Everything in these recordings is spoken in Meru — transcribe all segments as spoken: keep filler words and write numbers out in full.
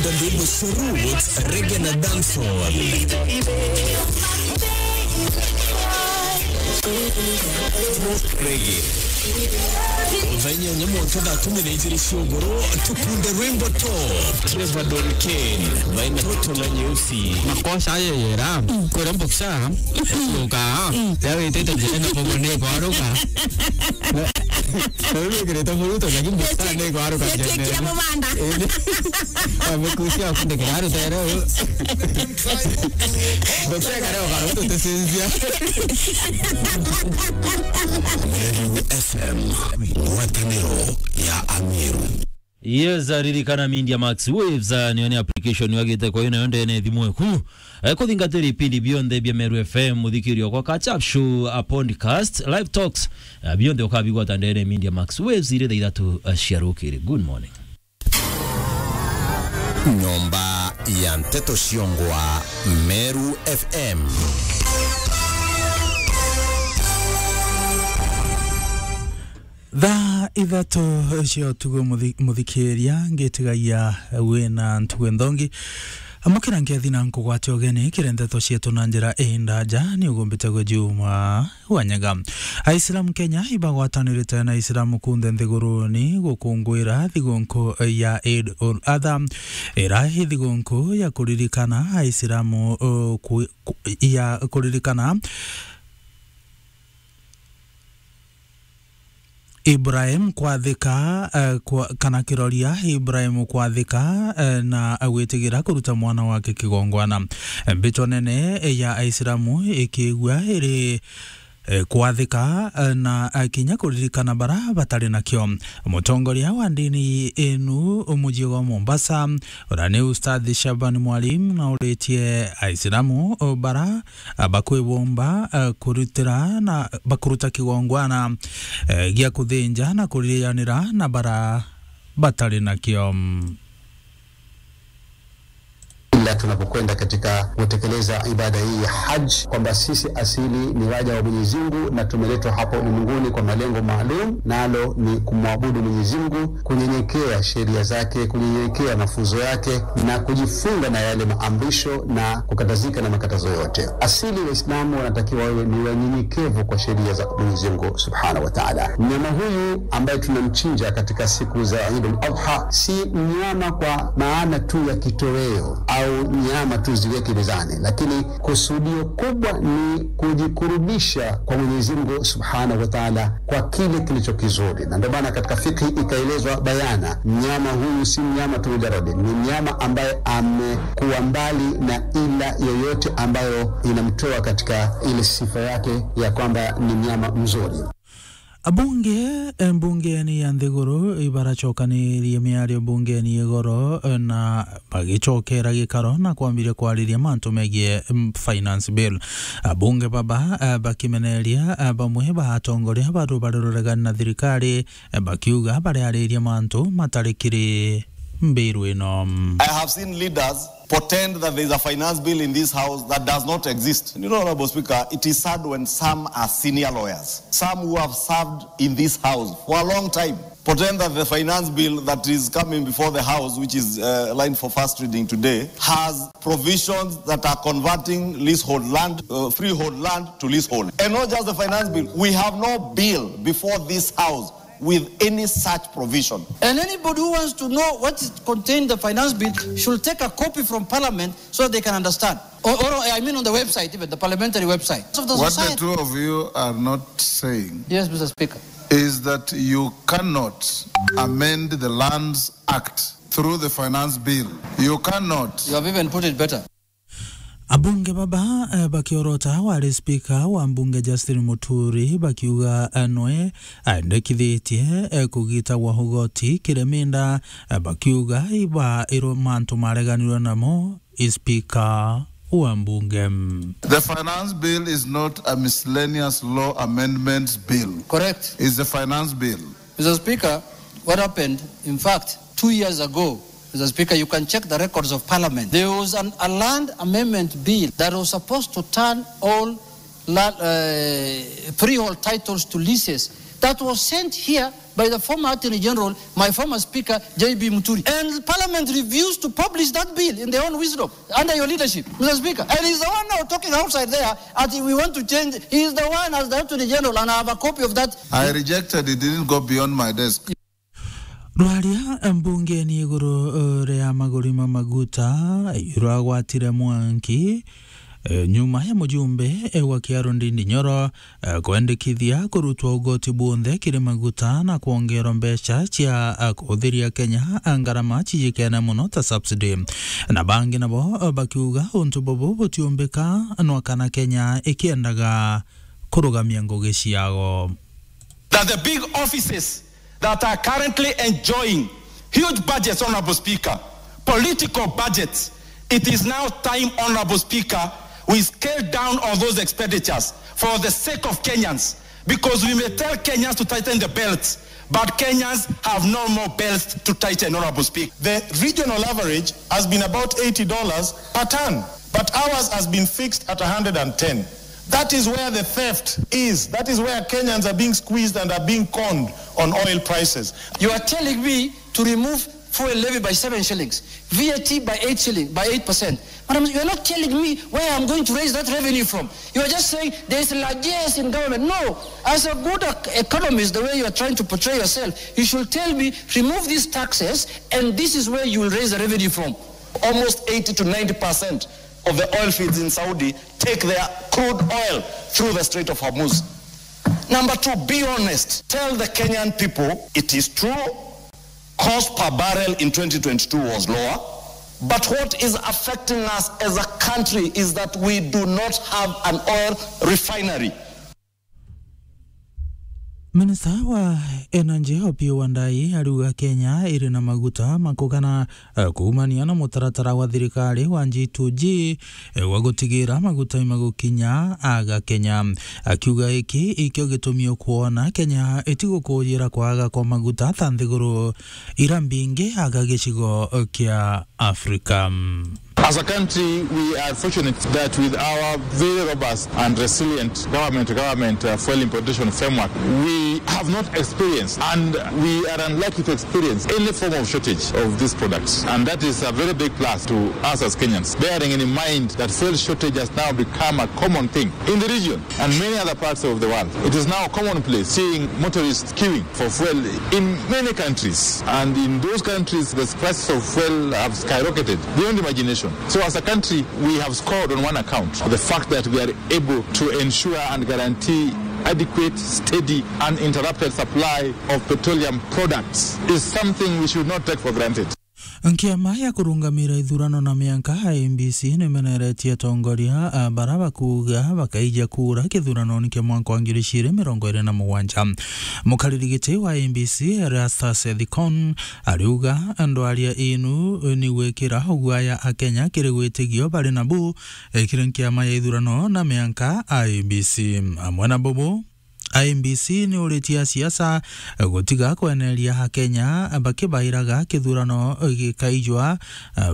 Ndimbo cia roots, reggae na dancehall. Reggae. Thaa inyanya mwanka thaa kumi na ijiri cia ugoro, tukunde rwimbo top. Trevor Don Kane, maina toto na nyeusi. Makosa ayo yera, kwera mboksa, yoka, ya wetete njira na pogo ne kwaruka. Riu wikirite muruto, lakini mboksa ne kwaruka. Yetekia mubanda. Amekusia kundikira rutere. Mboksa kare ukaruto tesinzia. Meru F M, ngwataniro ya Ameru. Yes, ririkana Media Max Waves, ah, niyo ni application wagite kwa yo nayo ndene thimu eku. Eh, kuthingatira ipindi bionthe bia Meru F M, muthikirio kwa Catch Up Show, a podcast, live talks, ah, bionthe ukabigwata ndene Media Max Waves iri thaa ithatu, ah, cia rukiri. Good morning. Nyomba ya nteto ciongwa Meru F M. Thaa ithatu cia utuku, muthi-, muthikiria, ngitigagia wina ntugu nthongi. Amukira nkethi na nkugwate ugeni kiri nteto cietu na njira indaja, ni ugumbite gwe Juma Wanyaga. Aisilamu Kenya ibagwatanirite na Aisilamu kunthe nthiguruni gukunguira thigunku ya Eid ul Adha, ira i thigunku ya kuririkana Aisilamu, uh, ku-, ku-, ya kuririkana Ibrahim kwathika, eh, kwa, kana kiroria Ibrahim kwathika, eh, na gwitigira kuruta mwana wake kigongwana. Mbito nene ya Aisilamu ikiigua iri, eh, kwathika, eh, na, eh, kinya kuririkana bara batari nakio. Mutongoria wa ndini inu muji gwa Mombasa, uria ni Ustadh Shaban Mwalim, nauritie Aisilamu, oh, bara, ah, bakwibomba, ah, kurutira na bakuruta kigongwana, eh, gia kuthinja na kurianira na bara batari nakio. Ila tunapokwenda katika kutekeleza ibada hii ya Hajj, kwamba sisi asili ni waja wa Mwenyezi Mungu na tumeletwa hapa ulimwenguni kwa malengo maalum, nalo ni kumwabudu Mwenyezi Mungu, kunyenyekea sheria zake, kunyenyekea mafunzo yake na kujifunga na yale maamrisho na kukatazika na makatazo yote. Asili Waislamu wanatakiwa wawe ni wanyenyekevu kwa sheria za Mwenyezi Mungu Subhanahu wa Ta'ala. Mnyama huyu ambaye tunamchinja katika siku za Eid al-Adha si mnyama kwa maana tu ya kitoweo au nyama tu ziweke mezani, lakini kusudio kubwa ni kujikurubisha kwa Mwenyezi Mungu Subhanahu wa Ta'ala kwa kile kilicho kizuri. Na ndio maana katika fikhi ikaelezwa bayana, mnyama huyu si mnyama tu mujarrad, ni mnyama ambaye amekuwa mbali na ila yoyote ambayo inamtoa katika ile sifa yake ya kwamba ni mnyama mzuri. Abunge, eh, mbungeni ya nthiguru ibaracokanirie miario mbungeni igoro, eh, na bagicokera gikaro na kwambiria kwariria mantu megie, mm, finance bill. Abunge baba, eh, bakimeneria, eh, bamwe ba atongoria ba rubare ruregani na thirikari, eh, bakiuga bariariria mantu matari kiri mbiru ino. I have seen leaders pretend that there is a finance bill in this house that does not exist. You know, Honorable Speaker, it is sad when some are senior lawyers, some who have served in this house for a long time, pretend that the finance bill that is coming before the house, which is, uh, lined for first reading today, has provisions that are converting leasehold land, uh, freehold land to leasehold. And not just the finance bill, we have no bill before this house with any such provision. And anybody who wants to know what is contained in the finance bill should take a copy from Parliament so they can understand. Or, or, I mean, on the website, even the parliamentary website. Of the What the society. Two of you are not saying Yes, Mister Speaker. Is that you cannot amend the Lands Act through the Finance Bill. You cannot. You have even put it better. Abunge baba, eh, bakiorota wari spika wa mbunge Justin Muturi bakiuga, eh, nwe aendekithitie, eh, kugita gwa ugoti kiremenda, eh, bakiuga iba iro mantu mareganirwe namo i spika wa mbunge. The finance bill is not a miscellaneous law amendments bill. Correct. It's the finance bill. Mister Speaker, what happened, in fact, two years ago, Mister Speaker, you can check the records of Parliament. There was an, a land amendment bill that was supposed to turn all la-, uh, freehold titles to leases. that was sent here by the former Attorney General, my former Speaker, J B Muturi. And Parliament refused to publish that bill in their own wisdom under your leadership, Mister Speaker. And he's the one now talking outside there, and we want to change. He is the one as the Attorney General, and I have a copy of that. I rejected it, didn't go beyond my desk. Rwaria mbungeni iguru, eh, ria maguri ma maguta, irwagwatire mwanki, eh, nyuma ya mujumbe, eh, wa Kiaru Ndindi Nyoro, eh, kwendekithia kurutwa ugoti bwonthe kiri maguta na kwongerwa mbeca cia, eh, kuhuthiria Kenya, eh, ngarama cijikene mono ta subsidy. Na bangi nabo, eh, bakiuga untu bubu butiumbika nwa kana Kenya ikiendaga kurugamia ngugi ciao. That the big offices that are currently enjoying huge budgets, Honorable Speaker, political budgets, it is now time, Honorable Speaker, we scale down on those expenditures for the sake of Kenyans, because we may tell Kenyans to tighten the belts, but Kenyans have no more belts to tighten, Honorable Speaker. The regional average has been about eighty dollars per ton, but ours has been fixed at a hundred and ten. That is where the theft is. That is where Kenyans are being squeezed and are being conned on oil prices. You are telling me to remove fuel levy by seven shillings, V A T by eight shilling, by eight percent. Madam, you are not telling me where I'm going to raise that revenue from. You are just saying there is largesse in government. No, as a good ec-, economist, the way you are trying to portray yourself, you should tell me, remove these taxes, and this is where you will raise the revenue from. Almost eighty to ninety percent of the oil fields in Saudi take their crude oil through the Strait of Hormuz. Number two, be honest. Tell the Kenyan people it is true, cost per barrel in twenty twenty-two was lower, but what is affecting us as a country is that we do not have an oil refinery. Minista wa Energy, Opiyo Wandayi, ariuga Kenya iri na maguta ma kugana, eh, kuumania na mutaratara wa thirikari wa G two G, eh, wa gutigira maguta imagukinya aga Kenya. Akiuga iki ikio gitumi ukwona Kenya itigukujira kwaga kwa maguta ta nthiguru ira mbingi aga gicigo kia Africa. As a country, we are fortunate that with our very robust and resilient government-to-government, uh, fuel importation framework, we have not experienced, and we are unlikely to experience, any form of shortage of these products. And that is a very big plus to us as Kenyans, bearing in mind that fuel shortage has now become a common thing in the region and many other parts of the world. It is now commonplace seeing motorists queuing for fuel in many countries, and in those countries, the prices of fuel have skyrocketed beyond imagination. So as a country, we have scored on one account, the fact that we are able to ensure and guarantee adequate, steady, uninterrupted supply of petroleum products is something we should not take for granted. Nkiama ya kurungamira ithurano na mianka, I E B C, nimeneretie atongoria, a, bara bakuuga bakaija kura kithuranoni kia mwaka wa ngiri igiri mirongo iri na mugwanja. Mukariri giti wa I E B C, Erastus Ethekon, ariuga ndwaria inu ni gwikira uguaya Akenya kiri witigio bari nabu, e, kiri nkiama ya ithurano na mianka, I E B C. Amwe na bubu, I E B C ni uritie asiasa gutiga kweneria Akenya bakibairaga kithurano gikaijwa,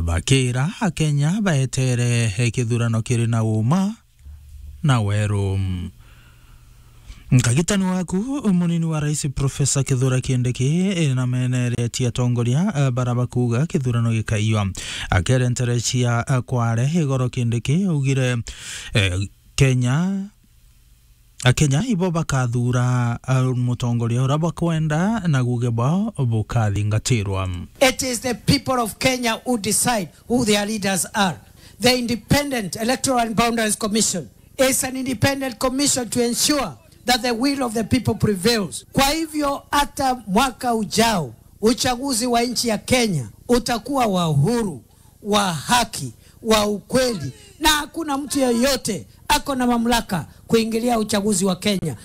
bakira Akenya baetere kithurano kiri na uma na weru. Nkagitani waku, munini wa rais Professor Kithure Kindiki, nameneretie atongoria bara bakuuga kithurano gikaijwa. Akere nterecia Kware igoro, Kindiki augire, eh, Kenya Akenya ibo bakathura, uh, mutongoria uria bakwenda na guge bwao bukathingatirwa. It is the people of Kenya who decide who their leaders are. The Independent Electoral and Boundaries Commission is an independent commission to ensure that the will of the people prevails. Kwa hivyo, hata mwaka ujao, uchaguzi wa nchi ya Kenya utakuwa wa uhuru, wa haki, wa ukweli, na hakuna mtu yeyote ako na mamlaka kuingilia uchaguzi wa Kenya.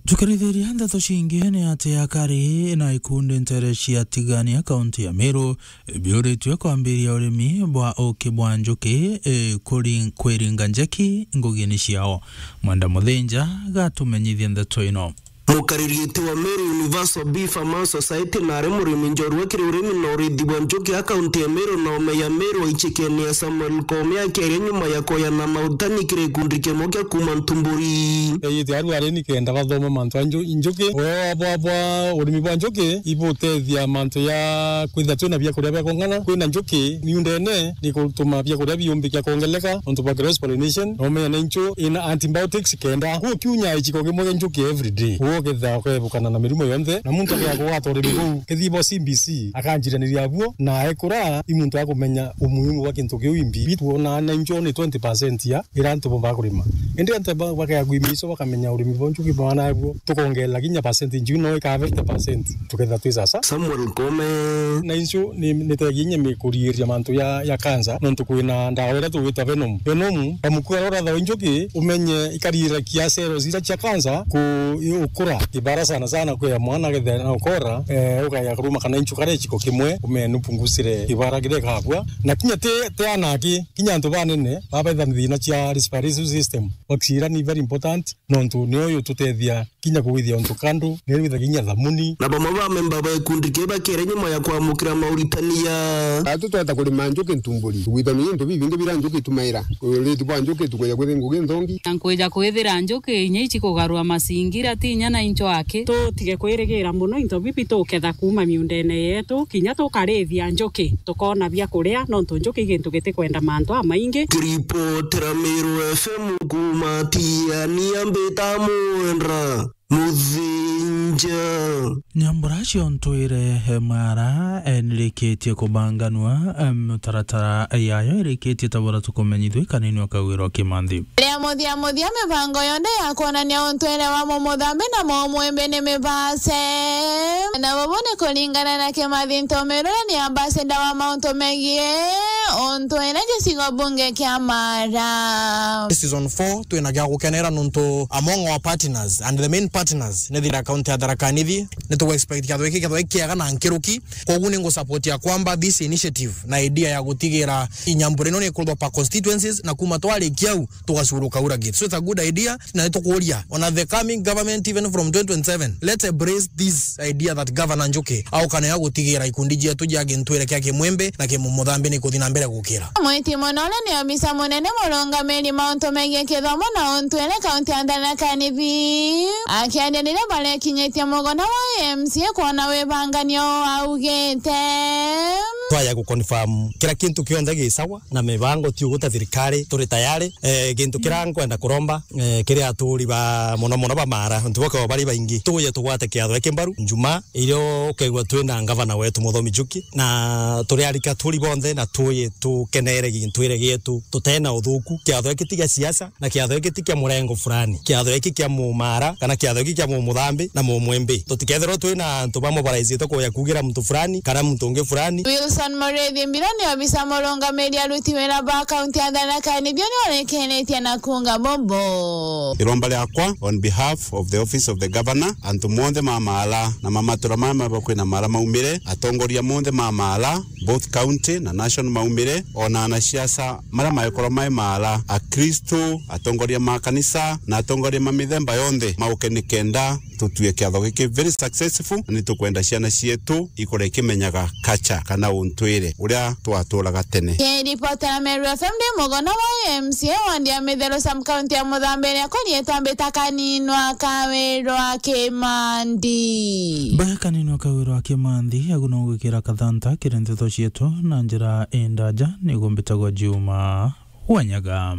Tukirithiria ndeto cingi, ni ati akari na ikundi ntere cia Tigania, kaunti ya Meru, biuritue kwambiria urimi bwa uki bwa njuki, e, kuri-, kwiringa njeki ngugini ciao. Mwenda Muthinja gatumenyithia ndeto ino. Mukariritie wa Meru Universal Bee Farmers Society na ari murimi njorua kiri urimi na urithi bwa njuki a kaunti ya Meru na ome ya Meru aichikene ya Samuel Koome akiaria nyuma ya koyana mautani kiri gikundi kimwe kia kuuma Ntumburi. Ite aru ari ni kenda bathoma mantu a nju-, njuki. Wea bwa, bwa urimi bwa njuki ibutethia mantu ya kwithia twina biakuria bia kung'ana. Kwina njuki miundene ni gutuma biakuria biumbikia kwongeleka nontu bwa cross pollination, na umenya na inchu ina antibiotics kenda. Kuu kiunya ichiko kimwe kia njuki every day. Kuu ukethira ukebukana na mirimu yonthe, na muntu akea kugwata urimi buu. Kethira bo C B C akanjiraniria buo, na ekura i muntu akumenya umuhimu bwa kintu kiu imbi. Bitwona na inchu ni twenty percent ya ira antu bomba kurima. Indi antu ba-, bakea kwimba iso bakamenya urimi bwa njuki bwana buo, tukongerera kinya percent inju no ika fifty percent. Tukethira twi sasa. Samuel Koome. Na inchu ni, ni teginya mi kuriiria mantu ya, ya cancer, nontu kwina ndawa iria tugwita venom. Venom, kamukua uria urathawa injuki, umenye ikarirakia cells iria cia cancer ku-, ukura. Kibara sana sana kwi ya mwana akethira na ukora, eh, ukaya kuruma kana inchu karia ichiko kimwe, umenye nupungusire kibara kiria ikabua. Na kinya ti, ti anaki, kinya antu banene, babetha thina cia respiratory system. Oxygen ni very important, nontu nio yututethia kinya kugwithia untu kandu, ni withagia kinya thamuni. Na bamwe ba memba ba gikundi kiu bakiaria nyuma ya kwamukira mauritania. Atu tweta kurima njuki Ntumburi, tugwithania into bibingi bira njuki itumaira. Uriti bwa njuki tukwija kwithia ngugi nthongi. Na nkwija kwithira njuki inya ichi kugarua masingira ti inya na incho aki. Tutige kwirigira mono into bibi tuketha kuuma miundene yetu, kinya tukarithia njuki, tukoona bia kuria, nontu njuki i gintu gitikwenda mantu amaingi. Kiripotera Meru F M kuuma Tiania, mbita Mwendra Muthinja. Nyambura cia Ntwire Mara, eh, nirikitie kubanganua, eh, mitaratara yayo irikitie ta buria tukumenyithua kanini o Kagwiro Kimanthi. Ria muthia muthia mibango yonthe ya kwonania untwire wa mumuthambi na mumwimbi ni mibase. Na bubu ni kuringana na Kimathi Ntomerure ni ambassador wa mauntu megie untwire gicigo bunge kia Mara. Season four twina gia gukenera nontu among our partners and the main partners ni thira county ya Tharaka Nithi. Ni tugu expect kiatho giki kethwa kiega na nkiruki. Koguo ni ngu support ya kwamba this initiative na idea ya gutigira inyambura ino ni ikurutwa per constituencies na kuma twarikia au tugacuruka ura gate. So it's a good idea, na nitukuria ona the coming government even from twenty twenty-seven, let's embrace this idea that Governor Njuki aukana ya gutigira ikundi cietu cia gintwire kia Kimwembe na Kimumuthambi ni kuthi na mbere gukira. Mwiti Munole ni obisa munene murungamiri mauntu megie kithomo na untwire kaunti ya Tharaka Nithi. Akiaria riria barekinyitie mugona wa M C A kwona wibanganio augite, twaya gu confirm kira kintu kionthe gi sawa na mibango ti uguta thirikari turi tayari. Eh, gintu kira nkwenda kuromba, eh, kiri aturi ba muno muno ba Mara, ntu bokao bari baingi, tuye tugwate kiatho giki mbaru Njumaa irio ukaigua twina ngavana wetu Muthomi Njuki, na turi arika turi bonthe na tuye tukenere gintwire gietu tutena uthuku. Kiatho giki ti gia siasa, na kiatho giki ti kia murengo fulani. Kiatho giki kia Mumara, kana kiatho giki kia Mumuthambi na Mumwimbi. Tutikethirwe twina antu bamobilize kuja kugira muntu fulani, kana muntu ungi fulani. Wilson Muriithi Mbiro ni obisa murungamiri aruti wira ba kaunti ya Tharaka Nithi, ni orekenitie na kuuga bubu. Iromba riakwa on behalf of the office of the governor, antu monthe ma Mara na ma matura maya maba kwina Mara maumire, atongoria monthe ma Mara, both county na national maumire, ona anasiasa maria maekorwa mai Mara, Akristo, atongoria ma kanisa na atongoria ma mithemba yonthe mauke nikenda tutue kiatho giki very successful, na ni tukwenda ciana cietu ikure ikimenyaga culture kana untwire uria twaturaga tene. Kiripotera Meru F M ndi mugona wa M C A wandi ya Mitheru sub county ya Muthambi, akorietwa mbita Kaninwa Kawirwa Kimandi. Baya Kaninwa Kawirwa Kimandi, agu no gwikira kathanta kiri nteto cietu na njira indaja, niguo mbitagwa Juma Wanyaga.